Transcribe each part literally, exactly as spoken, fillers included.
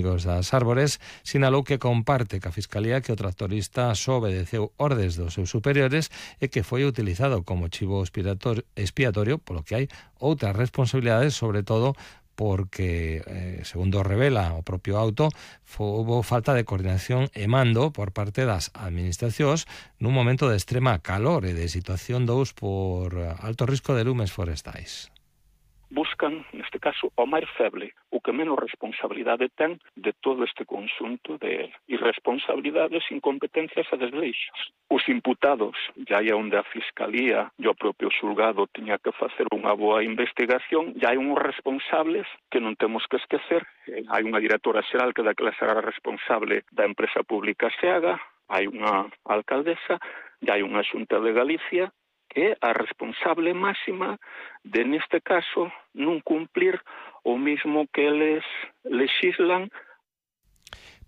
das Árbores, sinalou que comparte ca Fiscalía que o tractorista só obedeceu ordes dos seus superiores e que foi utilizado como chivo expiatorio, polo que hai outras responsabilidades, sobre todo porque, eh, segundo revela o propio auto, houbo falta de coordinación e mando por parte das administracións nun momento de extrema calor e de situación dous por alto risco de lumes forestais. Buscan, neste caso, o máis feble, o que menos responsabilidade ten de todo este conxunto de irresponsabilidades, incompetencias e desleixos. Os imputados, já é onde a Fiscalía e o propio xulgado tiña que facer unha boa investigación, já hai uns responsables que non temos que esquecer. Hai unha directora xeral que daquela será responsable da empresa pública SEAGA, hai unha alcaldesa, e hai unha Xunta de Galicia que é a responsable máxima de, neste caso, non cumplir o mismo que eles lexislan.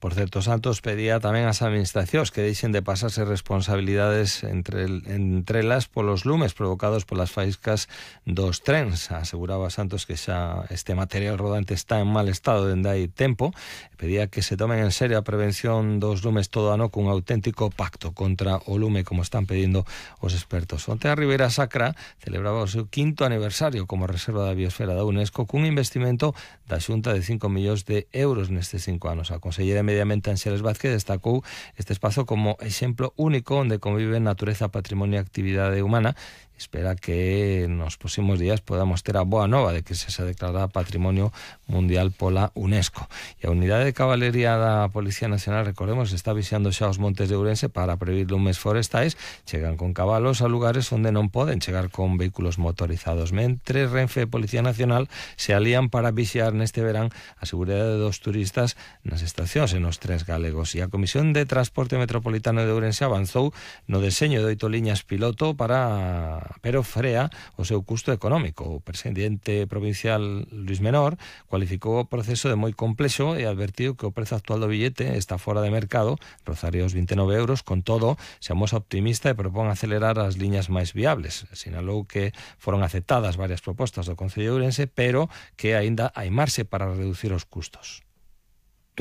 Por certo, Santos pedía tamén ás administracións que deixen de pasarse responsabilidades entre, entre elas polos lumes provocados polas faíscas dos trens. Aseguraba Santos que xa este material rodante está en mal estado dende hai tempo. Pedía que se tomen en serio a prevención dos lumes todo ano cun auténtico pacto contra o lume, como están pedindo os expertos. Onte a Ribeira Sacra celebraba o seu quinto aniversario como reserva da biosfera da UNESCO cun investimento da Xunta de cinco millóns de euros nestes cinco anos. A consellera Medio Ambiente Ánxeles Vázquez destacou este espazo como exemplo único onde conviven natureza, patrimonio e actividade humana. Espera que nos próximos días podamos ter a boa nova de que se se declara Patrimonio Mundial pola UNESCO. E a Unidade de Cabalería da Policía Nacional, recordemos, está vixiando xa os montes de Ourense para prevenir lumes forestais. Chegan con cabalos a lugares onde non poden chegar con vehículos motorizados. Mentre Renfe e Policía Nacional se alían para vixiar neste verán a seguridade dos turistas nas estacións e nos trens galegos. E a Comisión de Transporte Metropolitano de Ourense avanzou no deseño de oito liñas piloto para pero frea o seu custo económico. O presidente provincial Luis Menor cualificou o proceso de moi complexo e advertiu que o prezo actual do billete está fora de mercado, rozaría os vinte e nove euros. Con todo, se amosa optimista e propón acelerar as liñas máis viables. Sinalou que foron aceptadas varias propostas do Concello de Ourense, pero que aínda hai marxe para reducir os custos.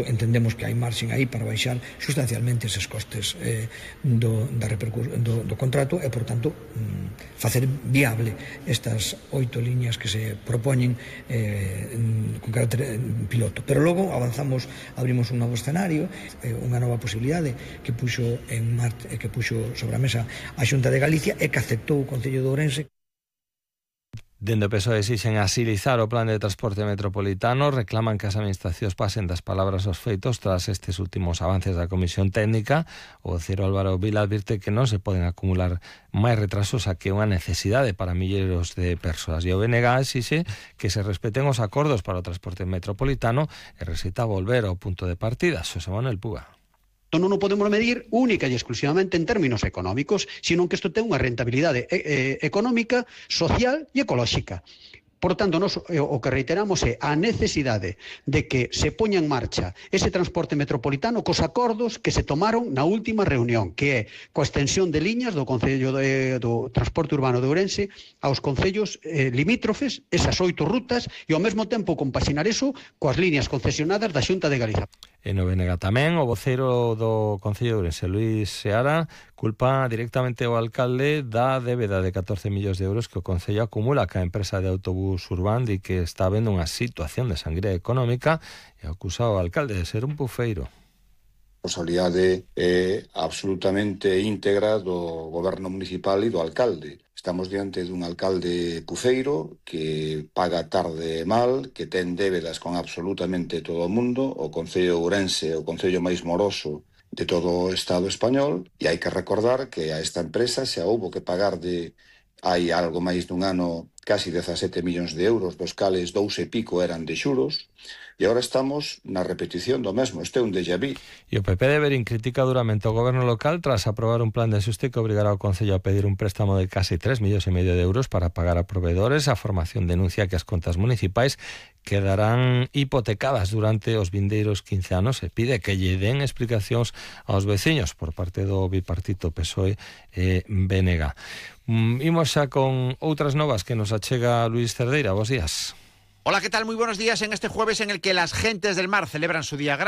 Entendemos que hai marxen aí para baixar sustancialmente eses costes eh, do, da do, do contrato e, por tanto, mm, facer viable estas oito liñas que se propoñen eh, con carácter piloto. Pero logo avanzamos, abrimos un novo escenario, eh, unha nova posibilidade que puxo, en mar, que puxo sobre a mesa a Xunta de Galicia e que aceptou o Concello de Ourense. Dende o P S O E exixen asilizar o plan de transporte metropolitano, reclaman que as administracións pasen das palabras aos feitos tras estes últimos avances da Comisión Técnica. O vocero Álvaro Vila advirte que non se poden acumular máis retrasos a que unha necesidade para milleiros de persoas. E o B N G exixe que se respeten os acordos para o transporte metropolitano e recita volver ao punto de partida. Xosé Manuel Puga. Non o podemos medir única e exclusivamente en términos económicos, sino que isto ten unha rentabilidade eh, económica, social e ecolóxica. Por tanto, nos, o que reiteramos é a necesidade de que se poña en marcha ese transporte metropolitano cos acordos que se tomaron na última reunión, que é coa extensión de liñas do Concello de, do Transporte Urbano de Ourense aos concellos eh, limítrofes, esas oito rutas, e ao mesmo tempo compaxinar eso coas liñas concesionadas da Xunta de Galicia. En o B N G tamén, o vocero do Concello de Ourense, Luís Seara, culpa directamente ao alcalde da débeda de catorce millóns de euros que o Concello acumula ca empresa de autobús Urbán e que está vendo unha situación de sangría económica e acusa ao alcalde de ser un bufeiro. A responsabilidade é absolutamente íntegra do goberno municipal e do alcalde. Estamos diante dun alcalde puceiro que paga tarde e mal, que ten débedas con absolutamente todo o mundo, o Concello de Ourense, o concello máis moroso de todo o Estado español, e hai que recordar que a esta empresa xa houbo que pagar de hai algo máis dun ano casi dezasete millóns de euros, dos cales dous e pico eran de xuros, e agora estamos na repetición do mesmo. Este é un déjà vu. E o P P de Verín critica duramente o goberno local tras aprobar un plan de axuste que obrigará ao Concello a pedir un préstamo de casi tres millóns e medio de euros para pagar a proveedores. A formación denuncia que as contas municipais quedarán hipotecadas durante os vindeiros quince anos e pide que lle den explicacións aos veciños por parte do bipartito P S O E e B N G. Imos xa con outras novas que nos achega Luis Cerdeira. Bos días. Hola, ¿qué tal? Muy buenos días en este jueves en el que las gentes del mar celebran su día grande.